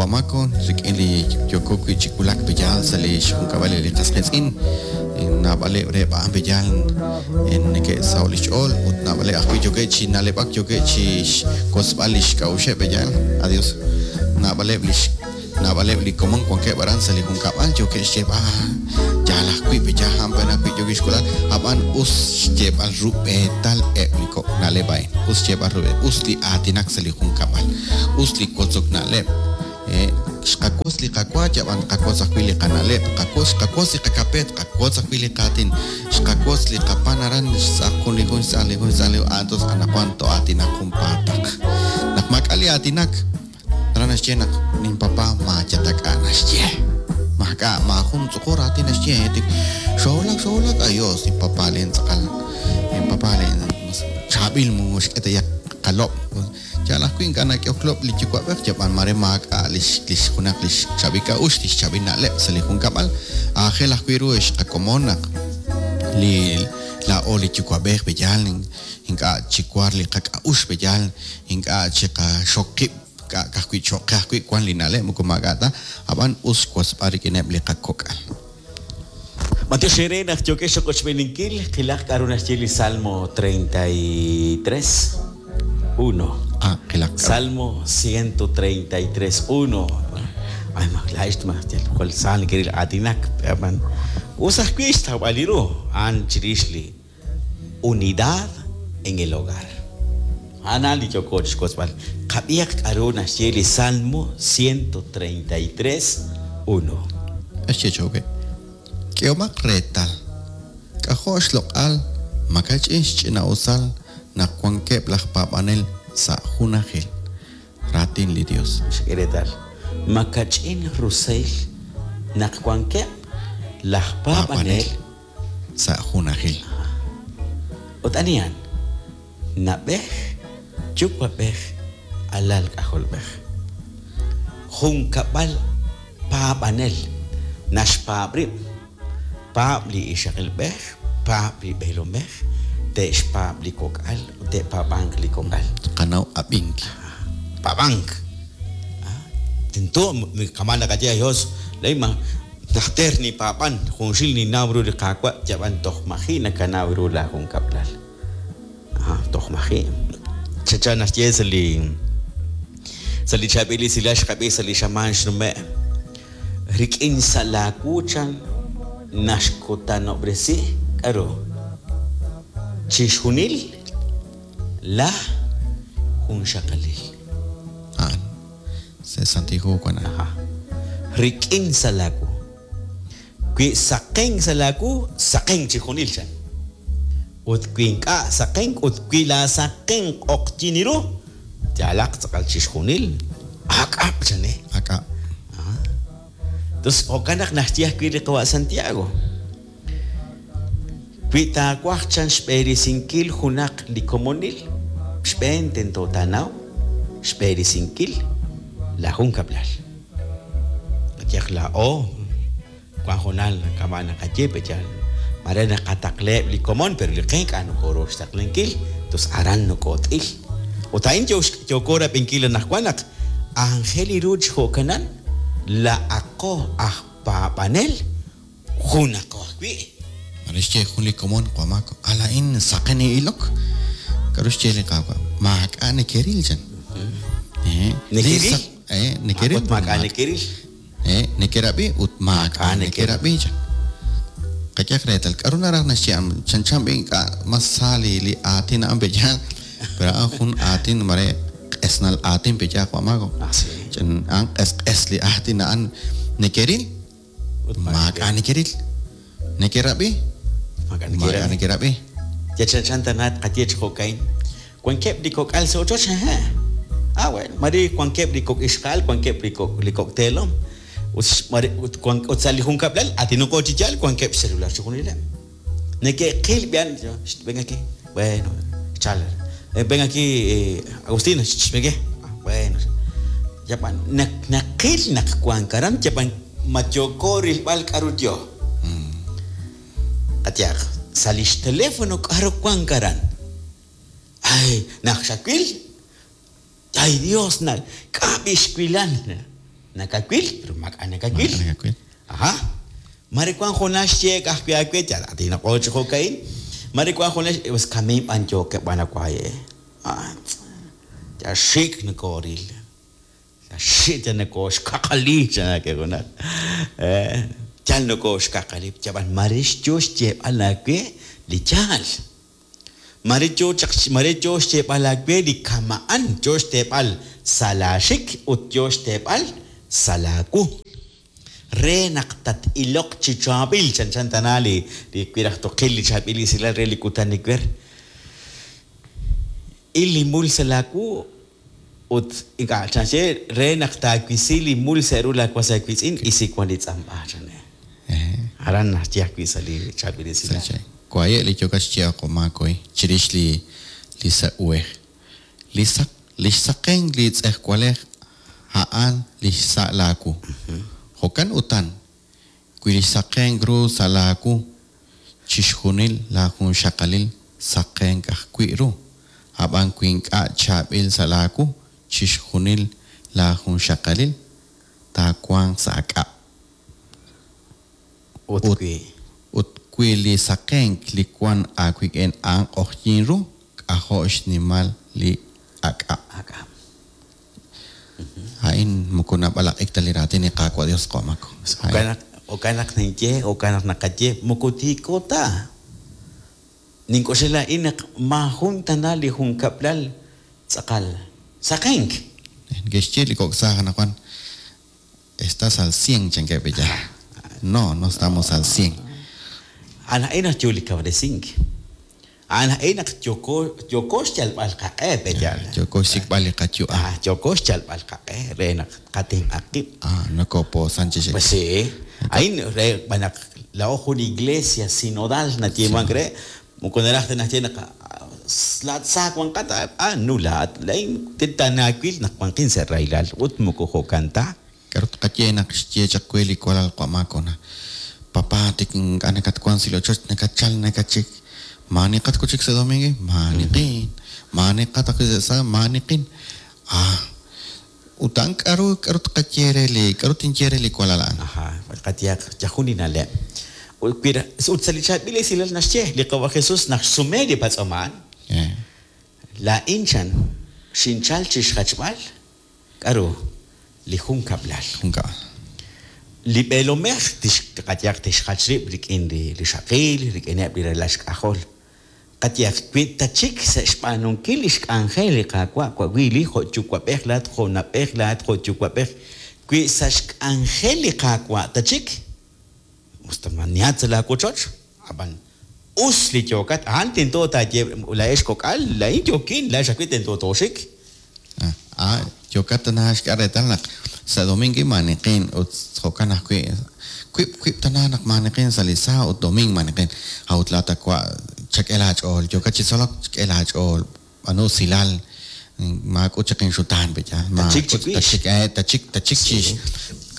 Wamako rik'in li yooko wi' chi wulak pe'yaal sa' li xjunkab'al li qas qiitz'in. Naab'aleb' reheb' a'an pe'yaal neke'saho' li xch'ool ut naab'aleb' ajwi' yookeb' chi na'leb'ak yookeb' chi xwotzb'al li xk'a'uxeb' pe'yaal. Adios. Naab'aleb' li naab'aleb' li komon wankeb' aran sa' li junkab'al yookeb' xyeeb'al yaal ajwi' pe'yaal a'an pe' ajwi' yookeb' xk'ulb'al ab'an us xyeeb'al rub'eetal eb' li kok' na'leb' a'in. Us xyeeb'al rub'eetal, us li aatinak sa' li junkab'al. Us li wotzok na'leb'. Xqawotz li qawa, yab'an tqawotz ajwi' li qana'leb', tqawotz, xqawotz li qakape, tqawotz ajwi' li qaatin, xqawotz li qapan aran, xtz'aq jun li jun, xtz'aq li jun, xtz'aq li jun, a'an anaqwan too'aatinaq junpaataq. Naq maak'a' li aatinak, aran naxye naq ninpapa maayatak'a naxye. Maak'a' maajun tz'uqur aatin naxye, tik xoowulak, xoowulak, ayos, ninpapa len tz'aqal, ninpapa len chaab'il mu xk'e ta qalob'. Yaal ajwi' ink'a' nak'ehok lob' li yuwa'b'ej, yab'an mare maak'a' lix lix junaq lix chaab'il k'a'uxl, lix chaab'il na'leb' sa' li junkab'al. Aajel ajwi' ru ex qakomon naq li laa'o li yuwa'b'ej pe'yaal ink'a' chiwar li qak'a'uxl pe'yaal ink'a' chiqaxok qib' k'a' ka'ajwi' cho'q qe ajwi' wan li na'leb' moko maak'a' ta, ab'an us xwotzb'al rik'ineb' li qakok'al. B'antiox eere naq yookex chiqochb'eeninkil, qilaq k'a'ru naxye li Salmo 33, uno. Ah, qilaq k'a'ru. Salmo 133, uno. Ay, ma laa'ex ma yal jwal sa nekeril aatinak, ab'an us ajwi' xtawb'al li ru, a'an chirix li Unidad en el hogar. A'an a'an li yooko chixwotzb'al. Qab'ihaq k'a'ru naxye li Salmo 133, uno. Naxye chi jo'kan, K'ehomaq reetal, k'ajo' xloq'al makach'in xch'ina'usal naq wankeb' laj paab'anel sa' junajil. Raatin li Yos. Xak'e reetal, makach'in rusil naq wankeb' laj paab'anel sa' junajil. Ut anihan? Na'b'ej, yuwa'b'ej, alal k'ajolb'ej. Junkab'al paab'anel naxpaab' rib', paab' li ixaqilb'ej, paab' li b'eelomej, te'xpaab' li kok'al ut te'paab'anq li kok'al. Tqanaw ab'ink. Paab'ank. Tento kama' naqaye Dios, Najter ninpaab'an, junxil ninnaw ru li Qaawa', yab'an toj maji' nakanaw ru laa junkab'lal. Aha, toj maji'. Chanchan naxye sa' li sa' li chaab'il esilal xqab'i sa' li xamaan xnume', Rik'in xsa' laa wu chan naxkutanob'resi k'a'ru? Chixjunil laa junxaqalil. A'an. Sa' Santil Hu wan a'an. Aha. Rik'in sa' laawu. Wi saqenk sa' laawu, saqenk chixjunil, chan. Ut wi ink'a' saqenk ut wi laasaqenk q'oqyin ru, yaalaq tz'aqal chixjunil, ak'ab', chan eh. Ak'ab'. Aha. Tos jo'kan naq naxye ajwi' li qawa' Santiago. Wi taawaj chan xb'eresinkil junaq li komonil, xb'een tento taanaw xb'eresinkil laa junkab'lal. Qayehaq laa'o, wan hoonal kama' naqaye pe' yaal mare naqataqlaheb' li komon pero li qe ink'a' nokooru xtaqlankil, tos aran nokoot'il. Ut a'in yooko rab'inkil anaqwan naq anjel li ru chi jo'kanan, laa'aqo aj paab'anel Junaqo ajwi'. Mare xye jun li komon, Qamako, a laa'in saqen nin'ilok. K'aru xye li Qaawa'? Maak'a' nekeril, chan. Nekeril? Nekeril. Ut maak'a' nekeril. Nekerab'i ut maak'a' nekerab'i, chan. Qak'ehaq reetal, k'aru naraj naxye a'an? Chanchan b'i' ink'a' mas sa li li aatin a'an pe' yaal, pero a'an jun aatin mare q'esnal aatin pe' yaal, Qamako. Chan a'an q'esq'es li aatin a'an. Nekeril? Ut maak'a' nekeril. Nekerab'i? Maak'a' nekerab'i. Yal chanchan tana tqaye chi jo'ka'in, Wankeb' li kok'al sa' ochoch? Hehe'. Ah, bueno, mare wankeb' li kok' ixqa'al, wankeb' li kok' li kok' teelom. Ut mare ut wank ut sa' li junkab'lal, aatinanqo chi yaal, wankeb' xcelular chixjunileb'. Neke'qil b'i'an, ven aquí, bueno, chal, ven aquí, Agustina, ven aquí, bueno, yab'an naqil naq wank aran, yab'an ma yooko rilb'al k'aru yo. Qayehaq, sa' li xteléfono k'aru wank aran. Ay, naq xawil, ay Dios, na, k'a' b'i xwilan. Nakawil, pero maak'a' nakawil. Ajá. Mare wank junaq xyeek ajwi' aawe, yal aatinaqo chi jo'ka'in. Mare wank junaq pues kamiin b'an yookeb' b'an awaye. Yal xik' nokooril. Yal xik' yal nokooxkaqali chan aawe junaq. Yal nokooxkaqali. Yab'an mare yo xyeeb'al aawe li yaal. Mare yo chaq mare yo xyeeb'al aawe li kama'an, yo xteeb'al sa' laaxik ut yo xteeb'al sa' laawu. Re naq tat-iloq chi chaab'il, chanchan tana li li wi raj toqil li chaab'il esilal re li kutan ewer. Il li mul sa' laawu ut ink'a' chanxye re naq taawisi li mul sa' ru laawas aawiitz'in, isi wan li tz'amb'a, chan. Aran naxye ajwi' sa' li chaab'il esilal. Waye' li yookat xyeeb'al qo' chirix li li sa' uhej. Li saq li xsaqenk li tz'ejwalej a'an li xsa' laawu. Jo'kan utan, wi li xsaqenk ru sa' laawu, chixjunil laajunxaqalil saqenk ajwi' ru. Ab'an wi ink'a' chaab'il sa' laawu, chixjunil laajunxaqalil taawanq sa' ak'ab'. Ut wi. Ut wi li saqenk li wank aawik'in a'an q'oqyink ru, k'ajo' xnimal li ak'ab'. Ak'ab'. A'in moko nab'alaq'ik ta li raatin li Qaawa' Dios qawa' Mako. Jo'kan naq jo'kan naq ninye, jo'kan naq naqaye, moko tiiko ta. Nink'oxla laa'in naq maajun tana li junkab'lal tz'aqal saqenk. Neke'xye li kok' saaj anaqwan, Estás al cien, chankeb' ella. No, no estamos al cien. A'an a'in naq yo li kawresink. A'an a'in naq yooko yooko xyalb'al qaq'e, pe'yaal? Yooko xsik'b'al li qayu'am. Ah, yooko xyalb'al qaq'e re naq tqatenq'a qib'. Ah, nokopoosan chi xik. Pues sí. A'in re b'an naq laa'o jun iglesia sinodal nayeemank re, moko naraj ta naxye naq laa'at sa wanqat, ah, no laa'at laa'in tanaawil naq wanqin sa' rahilal ut moko jo'kan ta. K'aru tqaye naq xye chaq we li walal qawa' Mako na, Papá, tik ink'a' nakatwank sa' li ochoch, nakatchalk nakatxik. Maaniqat wi' chik sa' domingo? Maaniqin. Maaniqat ajwi' sa' sábado? Maaniqin. Ah, ut a'an k'aru k'aru tqaye re li k'aru tinye re li walal a'an? Aja, qayehaq yajun li na'leb'. Ut wi ut sa' li chaab'il esilal naxye li Qawa' Jesús naq xsume li patz'om a'an. Laa'in chan xinchalk chi xjachb'al K'aru? Li junkab'lal. Junkab'al. Li b'eelomej tix, qayehaq tixjach rib' rik'in li rixaqil, rik'ineb' li ralal xk'ajol. Qayehaq, wi tatxik sa' xb'aanunkil li xk'anjel li Qaawa' wi li jo' yuwa'b'ej laa'at, jo' na'b'ej laa'at, jo' yuwa'b'ej, wi sa' xk'anjel li Qaawa' tatxik, us ta manihat sa' laawochoch, ab'an us li yookat, a'an tento taaye, laa'ex kok'al, laa'in yookin, laa'ex ajwi' tento tooxik. Ah, yookat tana xk'e reetal naq sa' domingo maaniqin ut jo'kan ajwi' wiib' wiib' tana naq maaniqin sa' li sábado ut domingo maaniqin. A'ut laa'at awa' chak'e laach'ool, yookat chi tzolok chak'e laach'ool, b'aanu usilal, maak'ut chaq inxutaan pe'yaal, Tatxik maak'ut chiwix. tatxik tatxik tatxik chi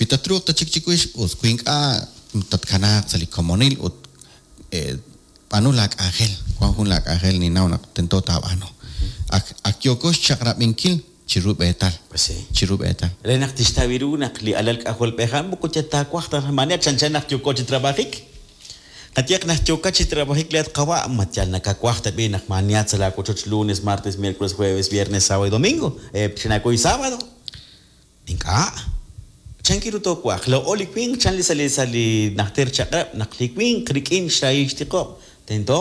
wi tatruuq tatxik chiwix us, wi ink'a' tatkanaaq sa' li komonil ut b'aanu laak'anjel, wank jun laak'anjel ninnaw naq tento taab'aanu. Ak ak yooko xchaq'rab'inkil chi rub'eetal, Pues sí. chi rub'eetal. Re naq tixtaw ru naq li alal k'ajolb'ej a'an moko yal taawaj ta maani chanchan naq yooko chi trabajik. Qayehaq naq yookat chi trabajik laa'at qawa' ma yal nakawaj ta b'i' naq maanihat sa' laawochoch lunes, martes, miércoles, jueves, viernes, sábado y domingo, xinaakuy sábado. Ink'a'. Chanki ru toowa'aq? Laa'o li winq chan li sa' li sa' li najter chaq'rab' naq li winq rik'in xrahil xtiqob' tento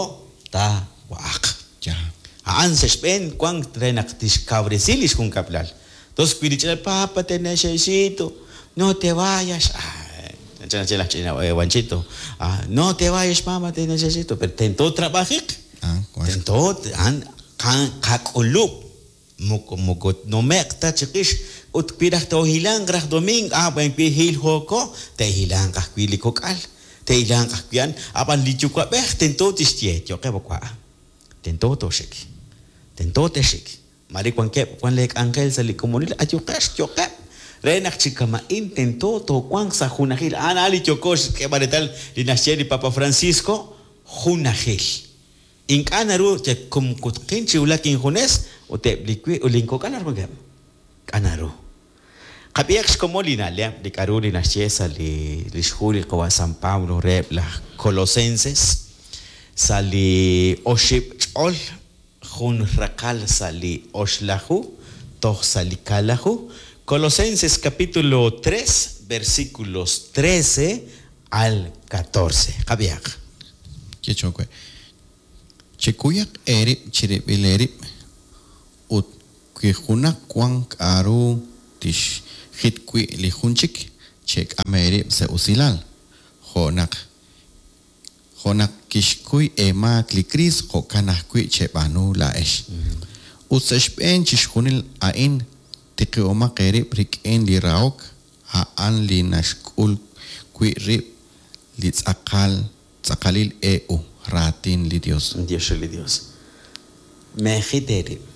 taawa'aq. Yaal. A'an sa' xb'een wank re naq tixkawresi li xjunkab'lal. Tos wi li ch'ina papa te necesito, no te vayas. Ah, chanchan naxye laj ch'ina Wanchito. Ah, no te vayas mama te necesito, pero tento trabajiq. Ah, wank. Tento a'an qak'ulub'. Moko moko tnume'q ta chiqix ut wi raj toohilanq raj domingo, ah buen wi hilhooko, te'hilanq ajwi' li kok'al, te'hilanq ajwi' a'an, ab'an li yuwa'b'ej tento tixye, yo'qeb' wa', tento tooxik, tento texik. Mare wankeb' wan lee k'anjel sa' li komonil, ayuqex, yo'qeb', re naq chi kama'in tento toowanq sa' junajil. A'an a'an li yooko xk'eeb'al reetal li naxye li Papa Francisco, junajil. Ink'a' naru yal kumkutqin chi wulak injunes ut eb' li wi ut linkok'al b'ar wankeb'? K'a' naru. Qab'ihaq xkomon li na'leb' li k'a'ru li naxye sa' li lix hu li Qawa' San Pablo reheb' laj Colosenses sa' li oxib' ch'ol jun raqal sa' li oxlaju toj sa' li kaalaju. Colosenses capítulo 3 versículos 13 al 14. Qab'ihaq. Ye cho'q we. Chekuyaq eerib' chirib'il eerib' ut wi junaq wank k'a'ru tixjit wi' li jun chik, chek'am eerib' sa' usilal, jo' naq jo' naq kixkuy eemaak li Kriist jo'kan ajwi' cheb'aanu laa'ex. Ut sa' xb'een chixjunil a'in tiqihomaq eerib' rik'in li rahok, a'an li naxk'ul wi' rib' li tz'aqal tz'aqalil e u, raatin li Yos. Dios re li Dios. Meejit eerib'.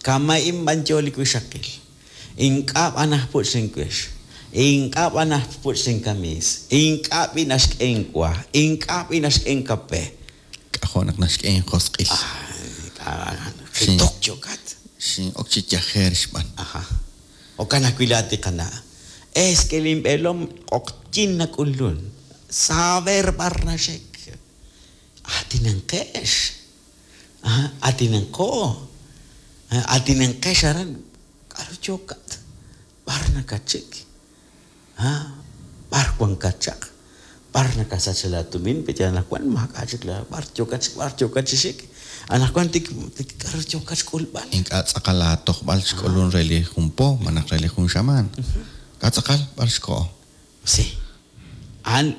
Kama'in b'an yo li wixaqil. Ink'a' b'an aj puch' linwix. Ink'a' b'an aj puch' linkamiis. Ink'a' b'i' naxk'e inwa. Ink'a' b'i' naxk'e inkape. K'ajo' naq naxk'e injosq'il. Jitok yookat. Xin'ok chi yajer xb'aan. Aja. Jo'kan ajwi' laa'at li qana'. Es que linb'eelom q'oqyink nak'ulun. Saber b'ar naxik. Aatinanqex. Aatinanqo. Aatinanqex aran. K'aru yookat? B'ar nakatxik? B'ar wankat chaq? B'ar nakasach laatumin? Pe anaqwan maak'a' chik la b'ar yookat b'ar yookat chi xik? Anaqwan tik tik k'aru yookat xk'ulb'al? Ink'a' tz'aqal laatojb'al xk'ulun re li jun po malaj re li jun xamaan. K'a' tz'aqal b'ar xkoho. Sí. A'an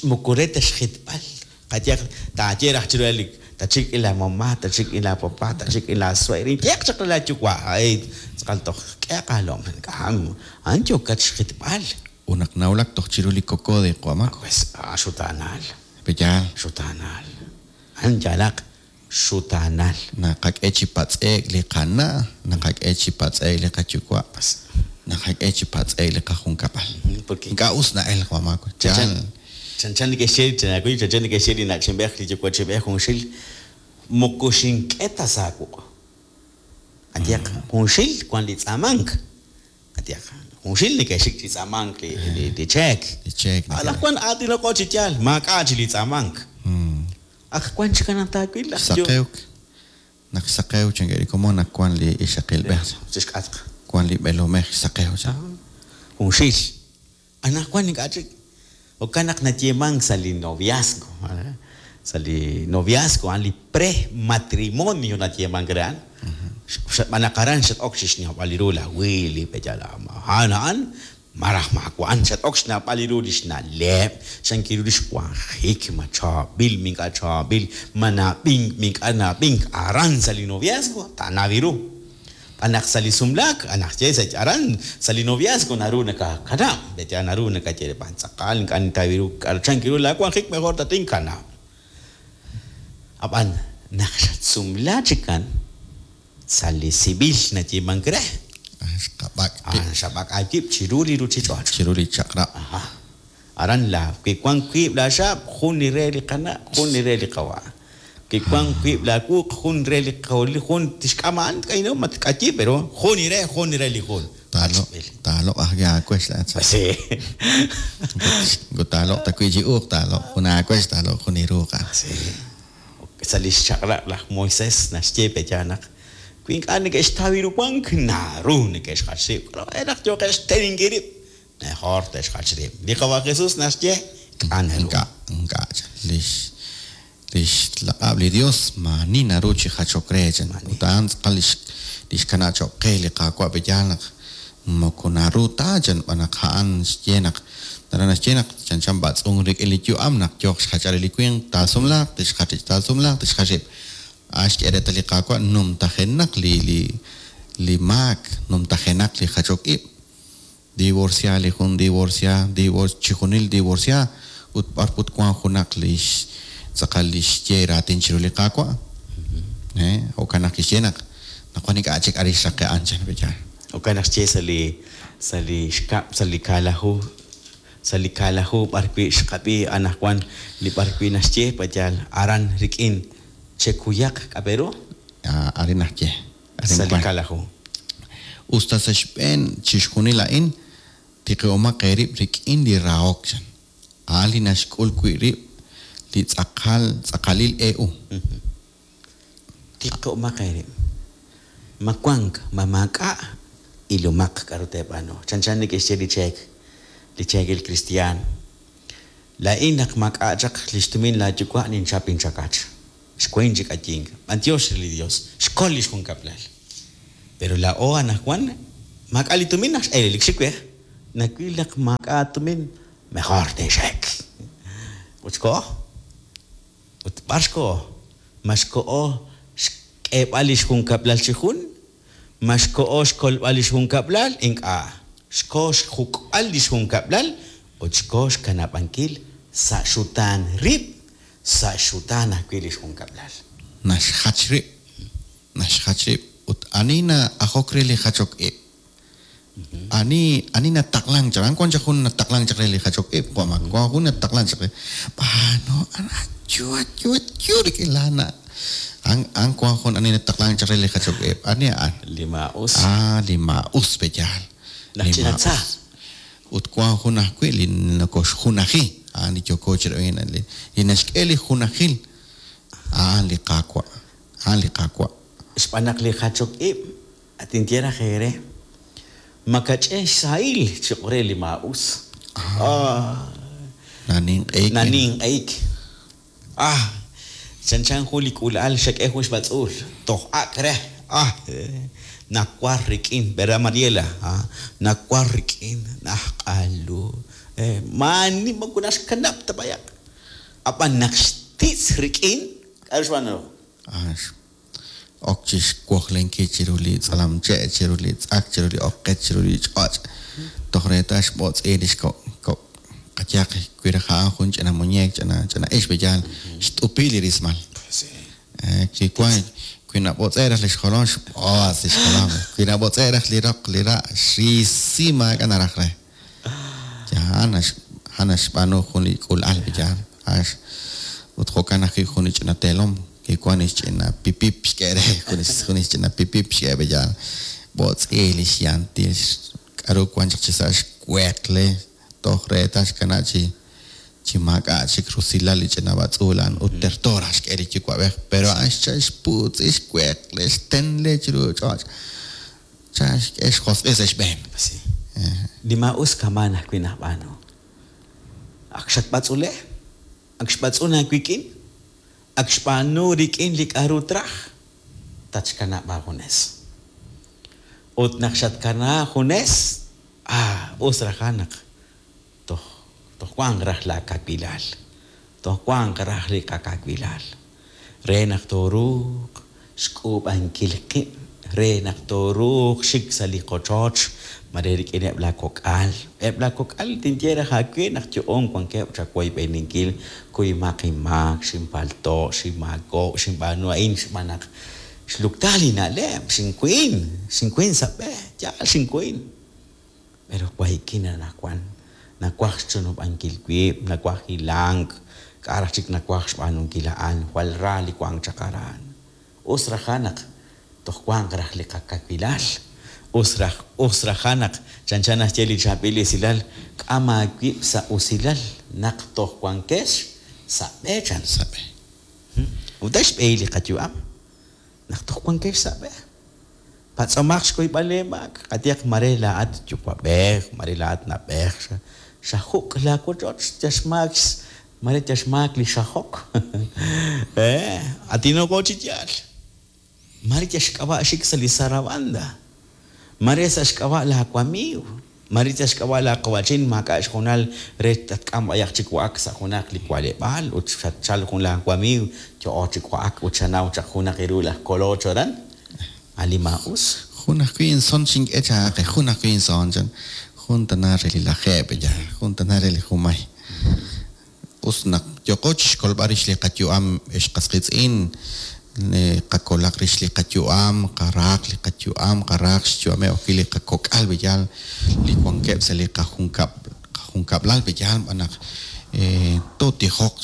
moko re ta xjitb'al. Qayehaq taaye raj chiru li tatxik rik'in laamama, tatxik rik'in laapapa, tatxik rik'in laasueer, inyehaq chaq re laayuwa', ay tz'aqal toj k'ehaq aalom. A'an yookat xjitb'al. Ut naq nawulak toj chiru li kokode Q'uamaco. Pues xutaanal. Pe'yaal? Xutaanal. A'an yaalaq xutaanal. Naqak'e chi patz'e'k li qana', naqak'e chi patz'e'k li qayuwa', naqak'e chi patz'e'k li qajunkab'al. Porque Ink'a' us na'elk Q'uamaco. Chanchan Yaal. chanchan neke'xye chanchan chanchan neke'xye li na'chinb'ej li yuwa'chib'ej junxil moko xink'e ta sa' wuq'. Qayehaq junxil wan li tz'aamank. Qayehaq junxil neke'xik chi tz'aamank li li li cheek. Li cheek neke- Anaqwan aatinaqo chi yaal, maak'a' chi li tz'aamank. Ak wan chik anaq taawil laj yo- Saqewk. Naq saqew chankeb' li komon naq wan li ixaqilb'ej. Chixk'atq. Wan li b'eelomej saqew chan. Junxil. Anaqwan ink'a' chik. Jo'kan naq nayeemank sa' li noviazgo. Sa' li noviazgo a'an li pre-matrimonio nayeemank re a'an. Xb'aan naq aran xat-ok chi xnawb'al ru laj Willy, pe'yaal a'an a'an malaj maawa' a'an xat-ok xnawb'al ru li xna'leb', xankil ru li xwanjik, ma chaab'il, ma ink'a' chaab'il, ma na'ab'ink, ma ink'a' na'ab'ink. Aran sa' li noviazgo taanaw ru. B'an naq sa' li sumlaak, anaq ye sa' aran sa' li noviazgo naru nakakanab', pe'yaal naru nakaye re b'an tz'aqal ink'a' nintaw ru k'aru chank ru laawanjik mejor tatinkanab'. Ab'an naq xatsumla chikan sa' li civil nayeemank re, Xqab'ak' qib' a'an xab'ak' aawib' chiru li ruuchich'och'. chiru li chaq'rab'. Aja. Aran la wi wank wiib' laaxaab', jun li re li qana', jun li re li qawa'. Wi wank wiib' laawuq, jun re li qawli, jun tixk'am a'an k'ayno ma tk'ayi, pero jun li re, jun li re li jun. Taaloq taaloq ajwi' aawex laa'at. Pues sí. Moko taaloq ta wi' chi uuq, taaloq jun aawex, taaloq jun iruuq. Sí. Sa' li xchaq'rab' laj Moisés naxye pe'yaal naq wi ink'a' neke'xtaw ru wank, naru neke'xjach rib'. K'aru naq yooqeb' xteninkil rib', mejor te'xjach rib'. Li Qawa' Jesús naxye k'a' naru. Ink'a' ink'a' chan. Lix lix laq'ab' li Dios maani naru chi jachok re chan. Ut a'an tz'aqal lix lix kana' cho'q qe li Qaawa' pe'yaal naq moko naru ta chan b'an naq a'an xye naq naru naxye naq chanchan b'atz'unk rik'in li yu'am naq yooq xjachal li winq taasumlaaq tixjach rib' taasumlaaq tixjach rib'. A'an xk'e reetal li Qaawa' numtajenaq li li li maak, numtajenaq li jachok ib'. Divorcia li jun divorcia, divor chixjunil divorcia ut b'ar put wank junaq lix tz'aqal li xye raatin chiru li Qaawa'. Jo'kan naq kixye naq naq wan ink'a' chik arin xraqe' a'an chan pe'yaal. Jo'kan naq xye sa' li sa' li xkab' sa' li kaalaju sa' li kaalaju b'ar wi' xqab'i anaqwan li b'ar wi' naxye pe'yaal aran rik'in chekuyaq k'a' pe ru Arin naxye. Arin sa' li wan. kaalaju. Us ta sa' xb'een chixjunil a'in, tiqib'omaq eerib' rik'in li rahok, chan. A'an li naxk'ul wi' rib' li tz'aqal tz'aqalil e-u. Tiqib'omaq eerib'. Ma wank, ma maak'a', ilomaq k'a'ru teeb'aanu. Chanchan neke'xye li cheek, li cheekil kristiaan. Laa'in naq maak'a' chaq lix tumin laa yuwa' ninchap inchakach. Xwein chi k'ayink. B'antiox re li Dios. Xkol lix junkab'lal. Pero laa'o anajwan maak'a' li tumin naq x'eelelik xiwej. Nawil naq maak'a' tumin, mejor tinxek. Ut xko'o. Ut b'ar xko'o? Ma xko'o xk'eeb'al lix junkab'lal chi jun? Ma xko'o xkolb'al lix junkab'lal? Ink'a'. Xko xjuk'b'al lix junkab'lal ut xko xkanab'ankil sa' xutaan rib', sa' xutaan ajwi' lix junkab'lal. Naxjach rib'. Naxjach rib'. Ut ani na'ajok re li jachok ib'? Ani ani nataqlank chaq? A'an wan chaq jun nataqlank chaq re li jachok ib', jo' ma wan jun nataqlank chaq re. B'aanu ayu ayu ayu rik'in laa na'. A'an a'an wan jun ani nataqlank chaq re li jachok ib'. Ani a'an? Li maa'us. Ah, li maa'us pe yaal. Laj Li ch'ina tza. maa'us. Ut wan jun ajwi' li nokoxjunaji. A'an li yooko chi rab'inkil, li li naxk'e li junajil. A'an li Qaawa'. A'an li Qaawa'. Xb'aan naq li jachok ib', tinye raj eere, makach'e xsahil cho'q re li maa'us. Ah. Naninq'ehik. Naninq'ehik. Ah, chanchan jun li k'uula'al xak'e jun xb'atz'uul, toj ak' re. Ah, nawar rik'in, ¿verdad, Mariela? Ah, nawar rik'in, najq'alu. Maani moko naxkanab' ta b'ayaq. Ab'an naq xtitz rik'in, k'a'ru xb'aanu? Ah, ok chi xwojlenkil chiru li tz'alamche', chiru li tz'ak, chiru li oqech, chiru li ch'och'. Toj reetal xb'otz'i lix kok' kok' qayehaq wi raj a'an jun ch'ina muñeek, ch'ina ch'ina ix b'eyaal, xt'upi li rismal. Wi wan wi nab'otz'e' raj lix jolom, xb'otz' lix jolom. Wi nab'otz'e' raj li roq, li ra', xrisi maak'a' naraj re. A'an a'an naxb'aanu jun li k'uula'al b'eyaal. Ut jo'kan ajwi' jun li ch'ina teelom kiwan lix ch'ina pipip xk'e re, jun jun lix ch'ina pipip xk'e b'eyaal. B'otz'i lix yantil k'a'ru wan chaq chi sa' xweqle toj reetal xkana' chi chi maak'a' chik rusilal li ch'ina b'atz'uul a'an ut terto raj xk'e li yuwa'b'ej, pero a'an xchal xputz'i xweqle xtenle chiru ch'och'. Chan xk'e xjosq'il sa' xb'een. Sí. Li maa'us kamaan ajwi' najb'aanu. Ak xatb'atz'ule, ak xb'atz'un aawik'in, ak xb'aanu rik'in li k'a'ru traj, tatxkanab' aajunes. Ut naq xatkana junes, ah, us raj naq toj toj wanq raj laa kawilal, toj wanq raj li qakawilal, re naq tooruuq xk'uub'ankil qib', re naq tooruuq xik sa' li qochoch, mare rik'ineb' laa kok'al. Eb' laa kok'al tinye raj aawe naq yo'on wankeb' chawoyb'eninkil, kuymaq inmaak, xinpalto', xinmaako', xinb'aanu a'in xb'aan naq xlukta li na'leb', xinkuin, xinkuin sa' b'e, yaal xinkuin. Pero waykin anaqwan, nawaj xchunub'ankil wib', nawaj hilank, k'a' raj chik nawaj xb'aanunkil a'an, jwal ra li wank chaq aran. Us raj naq toj wanq raj li qakawilal. Us raj, us raj naq chanchan naxye li chaab'il esilal, k'am aawib' sa' usilal naq toj wankex sa' b'e chan. Sa' b'e. Ut a'in xb'ehil li qayu'am, naq toj wankex sa' b'e. Patz'omaq xkuyb'al eemaak, qayehaq mare laa'at yuwa'b'ej, mare laa'at na'b'ej, xajuk' laa wochoch, yal xmaak mare yal xmaak li xajok. Atinoko chi yaal. Mare yal xk'ab'a' xik sa' li zarabanda. Mare sa' xk'ab'a' laa wamiiw. Mare yal xk'ab'a' laa qawa'chin maak'a' xhoonal re tatk'am b'ayaq chi wa'ak sa' junaq li wa'leb'aal ut xatchal jun laa wamiiw yo'o chi wa'ak ut xanaw chaq junaq iru laj koloch aran. A li maa'us. Jun ajwi' inson xink'e chaaqe, jun ajwi' inson chan. Jun tana re li lajeeb' ya, jun tana re li jumay. Us naq yooqo chixkolb'al rix li qayu'am ex qas qiitz'in, qakolaq rix li qayu'am, qaraaq li qayu'am, qaraaq xyu'ameb' ajwi' li qakok'al b'eyaal li wankeb' sa' li qajunkab' qajunkab'lal b'eyaal b'an naq tootijoq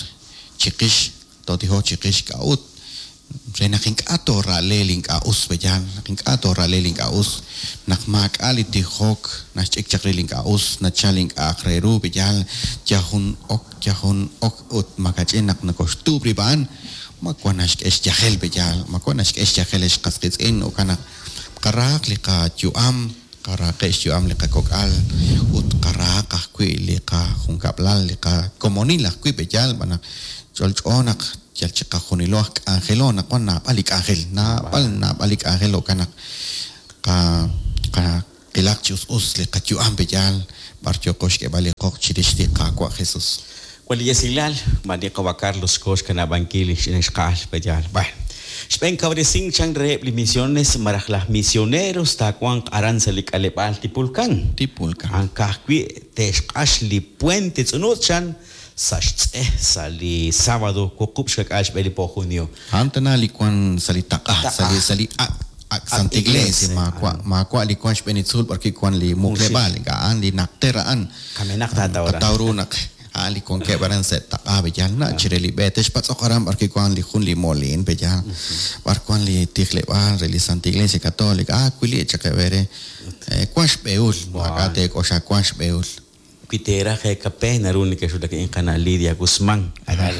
chiqix, tootijoq chiqix k'a'ut. Re naq ink'a' toora'le li ink'a' us, pe'yaal? Naq ink'a' toora'le li ink'a' us, naq maak'a' li tijok naxch'ik chaq rib' li ink'a' us, nachal li ink'a'aq re ru, pe'yaal? Yal jun ok, yal jun ok ut makach'in naq nokoxtuub' rib' a'an, ma wan naxk'e xyajel, pe'yaal? Ma wan naxk'e xyajel ex qas qiitz'in? Jo'kan naq qarahaq li qayu'am, qarahaqeb' xyu'am li qakok'al ut qarahaq ajwi' li qajunkab'lal, li qakomonil ajwi', pe'yaal? Xb'aan naq ch'olch'o naq yal chiqajunilo aj k'anjelo naq wan naab'al li k'anjel, naab'al, naab'al li k'anjel, jo'kan naq qa, qa, qilaq chi us us li qayu'am, pe'yaal? B'ar yooqo xk'eeb'al li qoq chirix li Qaawa' Jesus. Wan li esilal, ma li qawa' Carlos xko xkanab'ankil li xch'ina ixqa'al, pe'yaal? Bueno, xb'een kawresink chan reheb' li misiones malaj laj misioneros taawanq aran sa' li k'aleb'aal Tipulkan. Tipulkan. A'an ka'ajwi' te'xq'ax li puente Tz'unutz' chan sa' xtz'e sa' li sábado 26 xb'e li po junio. A'an tana li wan sa' li taq'a, sa' li sa' li ak' ak' Santa Iglesia, maawa' maawa' li wan xb'een li tzuul b'ar wi' wan li muqleb'aal, ink'a' a'an li najter a'an. Kamenaq taataw aran. Tqataw ru naq a'an li wankeb' aran sa' taq'a, pe'yaal na' chire li b'e. Texpatz'oq aran b'ar wi' wan li jun li moliin, pe'yaal b'ar wan li tijleb'aal re li Santa Iglesia Católica. Ah, wili' chaq eb' eere. Wan xb'ehul, maak'a' teek'oxla, wan xb'ehul. Wi teeraj eekape, naru nekexwulak rik'in qana' Lidia Guzmán. Aran,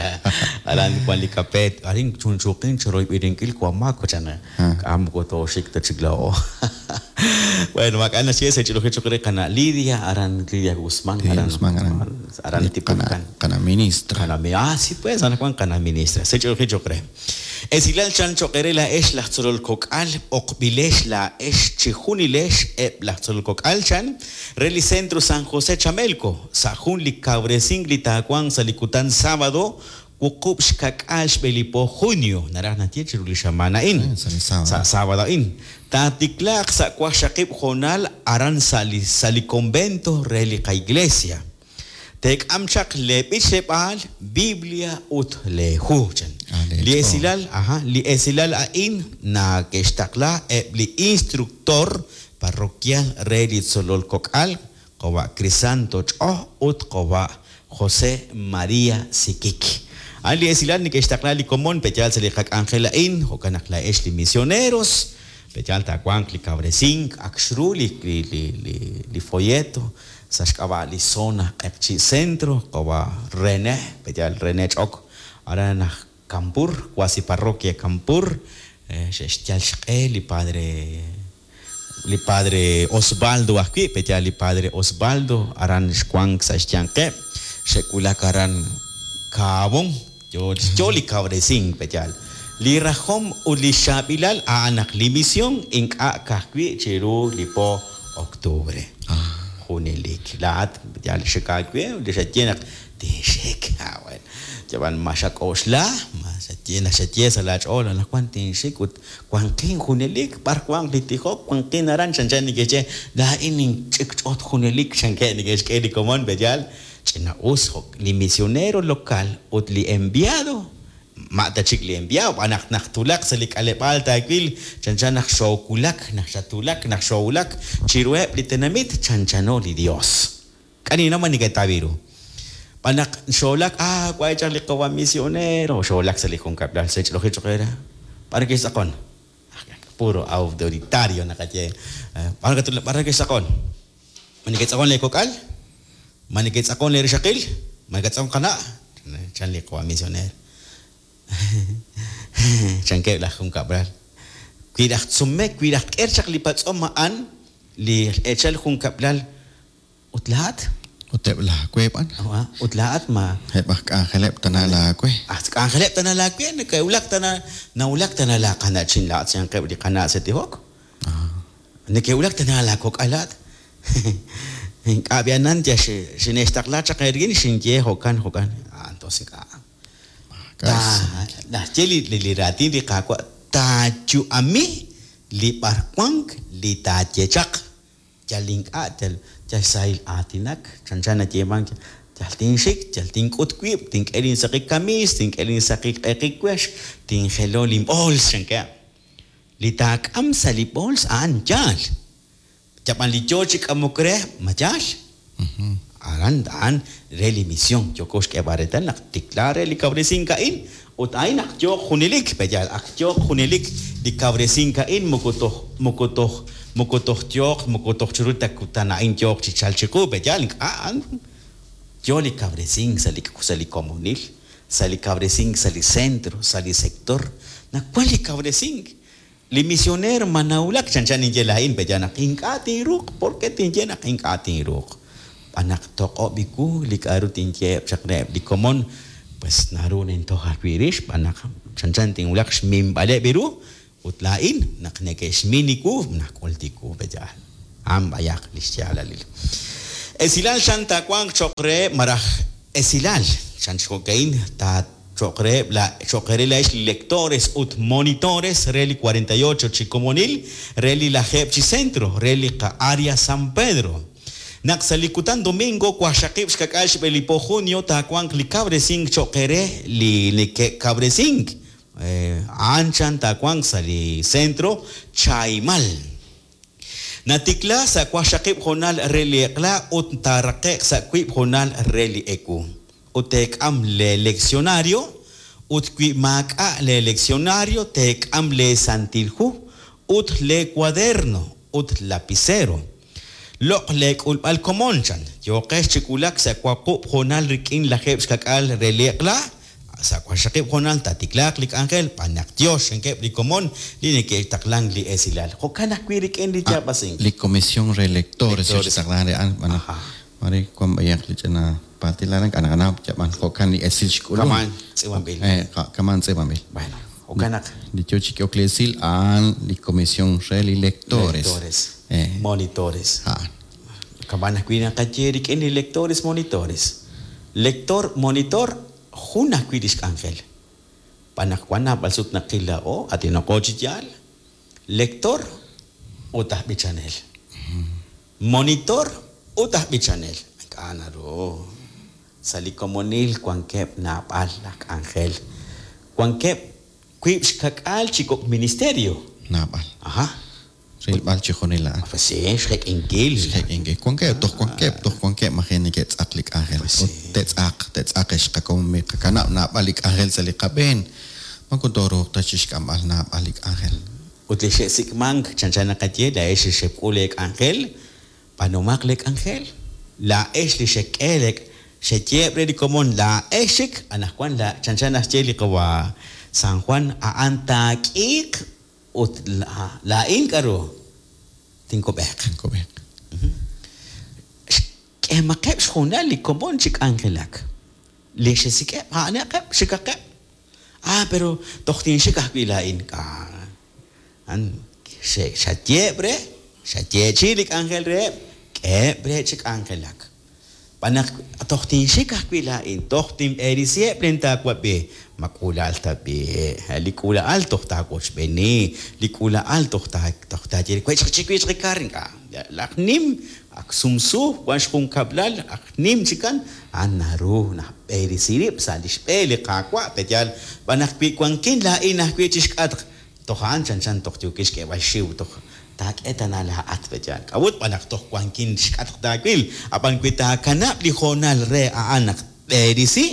aran wan li kape. Arin chunchuuqin chiroyb'eninkil wamaak, chan. K'a' moko tooxik ta chik laa'o. Bueno, maak'a' naxye sa' ch'ilojil choq' re qana' Lidia, aran Lidia Guzmán, Lidia aran, Guzmán, aran. aran Li Tipulkan. qana', qana' ministra. Qana' mi-, ah, sí pues, anaqwan qana' ministra. Sa' ch'ilojil choq' re. Esilal chan choq' eere laa'ex laj tzolol kok'al, b'oqb'ilex laa'ex chijunilex eb' laj tzolol kok'al chan re li Centro San José Chamelco, sa' jun li kawresink li taawanq sa' li kutan sábado 26 xb'e li po junio, naraj naxye chiru li xamaan a'in, Sa' li sábado. sa' sábado a'in, taatiklaaq sa' waqxaqib' hoonal aran sa' li sa' li convento re li qaiglesia. Teek'am chaq lee b'ichleb'aal, Biblia ut lee hu, chan. Ah, lee Li ch'ool. esilal, aha, li esilal a'in nake'xtaqla eb' li instructor parroquial re li tzolol kok'al, qawa' Crisanto Ch'o ut qawa' José María Siquik. A'an li esilal neke'xtaqla li komon pe'yaal sa' li qak'anjel a'in, jo'kan naq laa'ex li misioneros, pe'yaal taawanq li kawresink, ak xru li, li, li, li, li folleto sa' xk'ab'a' li zona Q'eqchi' Centro, qawa' René, pe'yaal René Ch'ok, aran aj Campur, cuasi parroquia Campur, xe'xyal xq'e li padre, li padre Osvaldo ajwi', pe'yaal li padre Osvaldo, aran xwank sa' xyanqeb', xe'wulak aran Kaabón, yo, yo li kawresink, pe'yaal. Li rajom ut li xchaab'ilal a'an naq li misión ink'a' ka'ajwi' chiru li po octubre. Junelik. Laa'at yal xik aawe, li xaye naq tinxik. Ah, bueno. Yab'an ma xak'oxla, ma xaye naq xaye sa' laach'ool anaqwan tinxik ut wanqin junelik, b'ar wanq li tijok, wanqin aran, chanchan neke'xye, laa'in ninch'ikch'ot junelik, chankeb' neke'xk'e li komon, pe'yaal, ch'ina-us jo' li misionero local ut li enviado, ma ta chik li enviado, b'an naq naq tulaq sa' li k'aleb'aal taawil, chanchan naq xoowulak, naq xatulak, naq xoowulak chiruheb' li tenamit, chanchano li Dios. K'anina ma neke'tawi ru. B'an naq xoolak, ah, waay chaq li qawa misionero, xoolak sa' li junkab'lal, sa' ch'ilojil choq' era, b'ar ke'xtz'aqon? Puro autoritario naqaye. B'ar katulak, b'ar ke'xtz'aqon? Ma neke'tz'aqon lee kok'al? Ma neke'tz'aqon lee rixaqil? Ma neke'tz'aqon qana'? Chan li qawa misionero. Chankeb' laj junkab'lal. Wi laj tzumek, wi laj k'er chaq li patz'om a'an, li echal junkab'lal, ut laa'at? Ut eb' laawe b'an. Ah, ut laa'at ma Eb' aj k'anjeleb' tana laawe. Aj k'anjeleb' tana laawe, neke'wulak tana, nawulak tana laa qana'chin laa'at xyanqeb' li qana' sa' tijok. Neke'wulak tana laa kok'al laa'at. Ink'a' b'i'anan ya xine'xtaqla chaq eerik'in, xinye jo'kan, jo'kan. Ah, entonces ink'a'. Ta, naxye li, li, li raatin li Qaawa', taayu'ami li b'arwank li taaye chaq. Yal ink'a', yal, yal sahil aatinak, chanchan nayeemank, yal tinxik, yal tink'ut wib', tink'e linsaqi kamiis, tink'e linsaqi q'eqi wex, tinjelo linb'ools, chankeb'. Li taak'am sa' li b'ools a'an yaal. Yab'an li yo chi k'amok re, ma yaal? Aran, a'an re li misión. Yoko xk'eeb'al reetal naq tikla re li kawresink a'in, Ut a'in ak yooq junelik, pe'yaal? Ak yooq junelik li kawresink a'in moko toj, moko toj, moko toj yooq, moko toj chiru ta kutan a'in yooq chi chalk chiqu, pe'yaal? Ink'a', a'an yo li kawresink sa' li, sa' li komonil, sa' li kawresink sa' li centro, sa' li sector, naq wan li kawresink. Li misioneer ma nawulak chanchan ninye laa'in, pe'yaal naq ink'a' tinruuq? Por qué tinye naq ink'a' tinruuq? Xb'aan naq toq'ob' iwu li k'a'ru tinyeheb' chaq reheb' li komon, pues naru nintoj ajwi' rix xb'aan naq chanchan tinwulaq xminb'aleb' ru ut laa'in naq neke'xmin iwu nak'ul tiwu, pe'yaal? A'an b'ayaq li xyaalalil. Esilal chan taawanq cho'q reheb' malaj esilal chan chi jo'ka'in ta Cho'q reheb' la cho'q eere laa'ex li lectores ut monitores re li 48 chi komonil re li lajeeb' chi centro re li qa Area San Pedro. Naq sa' li kutan domingo waqxaqib' xkak'al xb'e li po junio taawanq li kawresink cho'q eere li neke'kawresink a'an chan taawanq sa' li centro Chahimal. Natikla sa' waqxaqib' hoonal re li eq'la ut taaraqe'q sa' wiib' hoonal re li ewu. Ut teek'am lee leccionario, ut wi maak'a' lee leccionario teek'am lee Santil Hu ut lee cuaderno ut lapicero. Loq' lee k'ulb'al komon, chan. Yooqex chi wulak sa' wuqub' hoonal rik'in lajeeb' xkak'al re li eq'la, Sa' waqxaqib' hoonal taatiklaaq li k'anjel, b'an naq Yos chankeb' li komon li neke'taqlank li esilal. Jo'kan ajwi' rik'in li yaab'asink. Li Comisión re Lectores yo chi taqlank re a'an, xb'aan naq maare wan b'ayaq li ch'ina paaltil aran, k'a' naqanaw yab'an jo'kan li esil xk'ulum. Kama'an tz'iib'anb'il. Kama'an tz'iib'anb'il. Bueno, jo'kan naq. Li yo chi k'ehok li esil a'an li Comisión re li Lectores. Lectores, monitores. A'an. Kama'an ajwi' naqaye rik'in li lectores, monitores. Lector, monitor, jun ajwi' lix k'anjel. Xb'aan naq wan naab'al sut naqil laa'o, aatinaqo chi yaal, lector ut aj b'ichanel. Monitor ut aj b'ichanel. Ink'a' naru. Sa' li komonil wankeb' naab'al laj k'anjel. Wankeb' wiib' xkak'aal chi kok' ministerio. Naab'al. Aha. Rilb'al chijunil a'an. Pues sí, xjek'inkil. Xjek'inkil. Wankeb', toj wankeb', toj wankeb' maji' neke'tz'aq li k'anjel. Pues sí. Ut te'tz'aq, te'tz'aq ex qakomon, miqakanab' naab'al li k'anjel sa' li qab'een. Moko tooruuq ta chixk'amb'al naab'al li k'anjel. Ut li xe'sik'mank, chanchan naqaye, laa'ex li xek'ul leek'anjel, b'aanumaq leek'anjel. Laa'ex li xek'e lee, xeyeeb' re li komon, laa'ex chik, anaqwan la, chanchan naxye li qawa' San Juan, a'an taak'iiq Ut laa'in k'a'ru? Tinkub'eeq. Tinkub'eeq. Xk'eemaqeb' xhoonal li komon chi k'anjelak. Li xesik'eb', a'anaqeb', xikaqeb'. Ah, pero toj tinxik ajwi' laa'in. A'an xayeeb' re, xayeechi'i li k'anjel reheb', k'eheb' re chi k'anjelak. Xb'aan naq toj tinxik ajwi' laa'in, toj tinb'eresiheb' len taawab'i. Ma k'uula'al tab'i'? Li k'uula'al toj taawochb'eeni, li k'uula'al toj toj taaye re, Wech'q chi wech'q li kar, ink'a'. Laj nim, ak sumsu, wan xjunkab'lal, ak nim chikan, a'an naru naxb'eresi rib' sa' lix b'e li Qaawa', pe'yaal? Xb'aan naq wi wankin laa'in ajwi' chixk'atq, Toj a'an chanchan toj yookin xk'eeb'al xxiw, toj taak'e tana laa'at, pe'yaal? K'a'ut? Xb'aan naq toj wankin xk'atq taawil. Ab'an wi taakanab' li hoonal re a'an naq tb'erisi,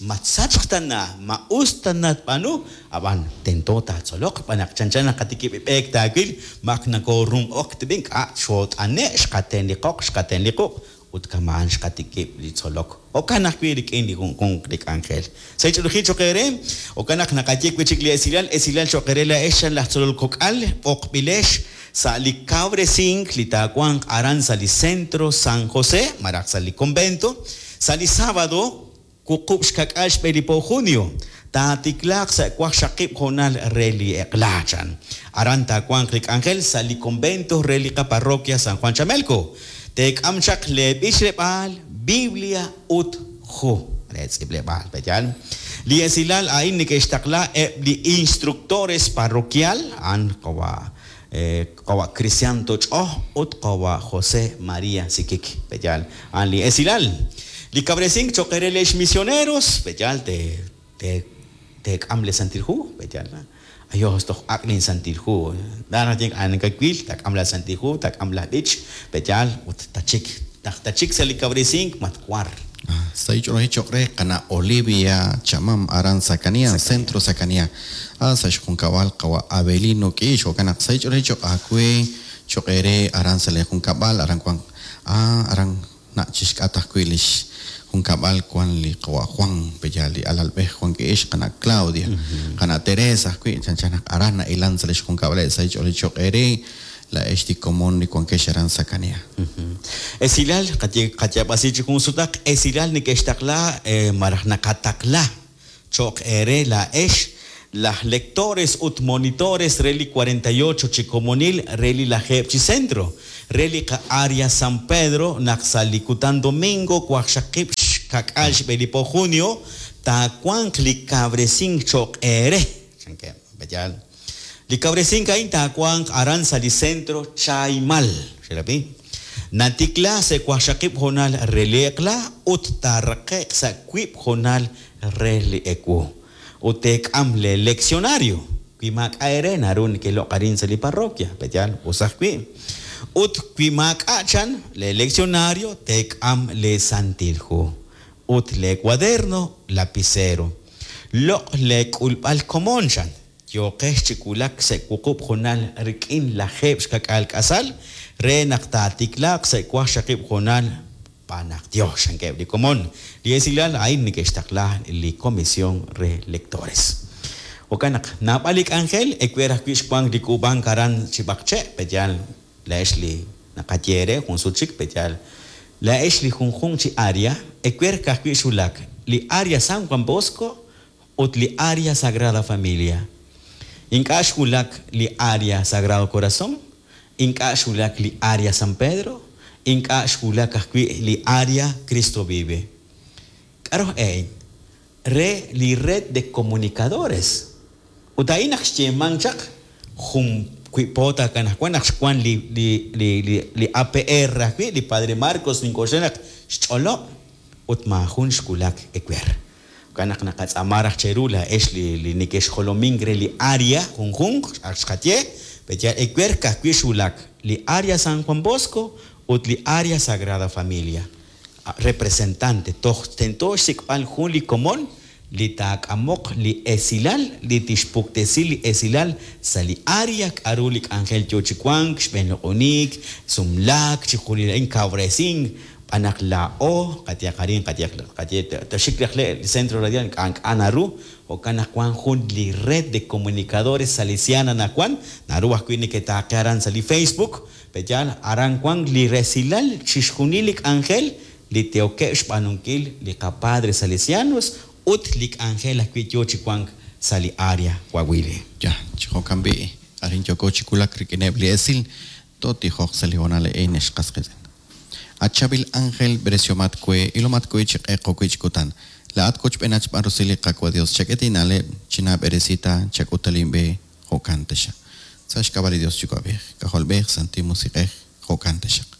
ma tsachq tana, ma us tana tb'aanu, ab'an tento taatzoloq, xb'aan naq chanchan naq qatikib' b'eek taawil, ma ak nakoorunq'ok tb'i, ink'a', xoot'ane', xqaten li qoq, xqaten li quq', Ut kama'an xqatikib' li tzolok. Jo'kan ajwi' rik'in li junjunq li k'anjel. Sa' li ch'oolejil cho'q eere, jo'kan naq naqaye wi' chik li esilal, esilal cho'q eere laa'ex chan laj tzolol kok'al, b'oqb'ilex sa' li kawresink li taawanq aran sa' li Centro San José malaj sa' li Convento, sa' li sábado Wuqub' xka'k'aal xb'e li po junio, taatiklaaq sa' waqxaqib' hoonal re li eq'la, chan. Aran taawanq li k'anjel sa' li convento re li qaparroquia San Juan Chamelco. Teek'am chaq lee b'ichleb'aal, Biblia ut hu re tz'iib'leb'aal, pe'yaal? Li esilal a'in neke'xtaqla eb' li instructores parroquial, a'an qawa' qawa' Crisanto Ch'oj ut qawa' José María Siquic, pe'yaal? A'an li esilal. Li kawresink cho'q eere leex misioneros, pe'yaal te, te, teek'am le Santil Hu, pe'yaal? Ayos, toj ak' lin Santil Hu. Naq naye a'an kawil, taak'am laa Santil Hu, taak'am laa b'ich, pe'yaal? Ut tachik, naq tachik sa' li kawresink, matwar. Sahil ch'oolejil cho'q re qana' Olivia Chamam aran Sakania, Centro Sakania. Sa' xjunkab'al qawa' Avelino K'ix, jo'kan naq sahil ch'oolejil cho'q aawe, cho'q eere aran sa' leejunkab'al, aran wank aran na' chi xk'atq ajwi' li xjunkab'al wank li qawa' Juan, pe'yaal li alalb'ej Juan K'ix, qana' Claudia, qana' Teresa ajwi', chanchan naq aran nahilank sa' li xjunkab'aleb' sahil ch'oolejil cho'q eere. Laa'ex li komon li wankex aran Sakania. Esilal, qayaab'asi chi jun sutaq, esilal neke'xtaqla malaj naqataqla cho'q eere laa'ex laj lectores ut monitores re li 48 chi komonil re li lajeeb' chi centro re li qa-Area San Pedro naq sa' li kutan domingo waqxaqib' xka'k'aal xb'e li po junio taawanq li kawresink cho'q eere, chankeb'. Pe'yaal? Li kawresink a'in taawanq aran sa' li Centro Chaimal. Xerab'i? Natikla sa' waqxaqib' hoonal re li eq'la ut taaraqe'q sa' wiib' hoonal re li ewu. Ut teek'am lee leccionario. Wi maak'a' eere naru nekeloq' arin sa' li parroquia. Pe'yaal? Us ajwi'. Ut wi maak'a' chan lee leccionario, teek'am lee Santil Hu ut lee cuaderno, lapicero. Loq' lee k'ulb'al komon chan. Yooqex chi wulak sa' wuqub' hoonal rik'in lajeeb' xka'k'aal k'asal re naq taatiklaaq sa' waqxaqib' hoonal xb'aan naq Dios, chankeb' li komon. Li esilal a'in neke'xtaqla li Comisión re Lectores. Jo'kan naq naab'al li k'anjel ewer ajwi' xwank li k'uub'ank aran chi b'aqche', pe'yaal laa'ex li naqaye eere jun sut chik, pe'yaal laa'ex li junjunq chi área ewer ka'ajwi' xwulak li Área San Juan Bosco ut li Área Sagrada Familia. Ink'a' xwulak li Área Sagrado Corazón, ink'a' xwulak li Área San Pedro, ink'a' xwulak ajwi' li Área Cristo Vive. K'aru aj e re li Red de Comunicadores? Ut a'in naq xyeemank chaq jun wi' po ta anaqwan naq xwank li li li li li APR ajwi' li Padre Marcos nink'oxla naq xch'olob' ut maajun xwulak ewer. Jo'kan naq naqatz'aama raj cheru laa'ex li li nekexjolomink re li área junjunq, ak xqaye, pe'yaal ewer ka'ajwi' xwulak li Área San Juan Bosco ut li Área Sagrada Familia. Representante, toj tento xsik'b'al jun li komon li taak'amoq li esilal, li tixpuktesi li esilal sa' li área, k'a'ru li k'anjel yoo chi wank, xb'een loq'oniik, sumlaak, chixjunil a'in, kawresink, Xb'aan naq laa'o, qayehaq arin, qayehaq, qaye, toxik raj le' li Centro Radial, ink'a' ink'a' naru, jo'kan naq wan jun li Red de Comunicadores Salesiana anaqwan, naru ajwi' neketaaqe aran sa' li Facebook, pe'yaal, aran wan li resilal chixjunil li k'anjel li teokeb' xb'aanunkil li qaPadre Salesianos ut li k'anjel ajwi' yoo chi wank sa' li Area Coahuile. Ya, chi jo'kan b'i', arin yooko chi wulak rik'ineb' li esil, tootijoq sa' li hoonal a'in, ex qas qiitz'in. At chaab'il ánjel, b'eresiomat we, ilomat we chi q'eq jo'wi' chi kutan. Laa'at wochb'eenat xb'aan rusil li Qaawa' Dios, chak'e tinna'leb', chinaab'eresi ta, chak'ut ta linb'e, jo'kan taxaq. Sa' xk'ab'a' li Dios Yuwa'b'ej, K'ajolb'ej, Santil Musiq'ej, jo'kan taxaq.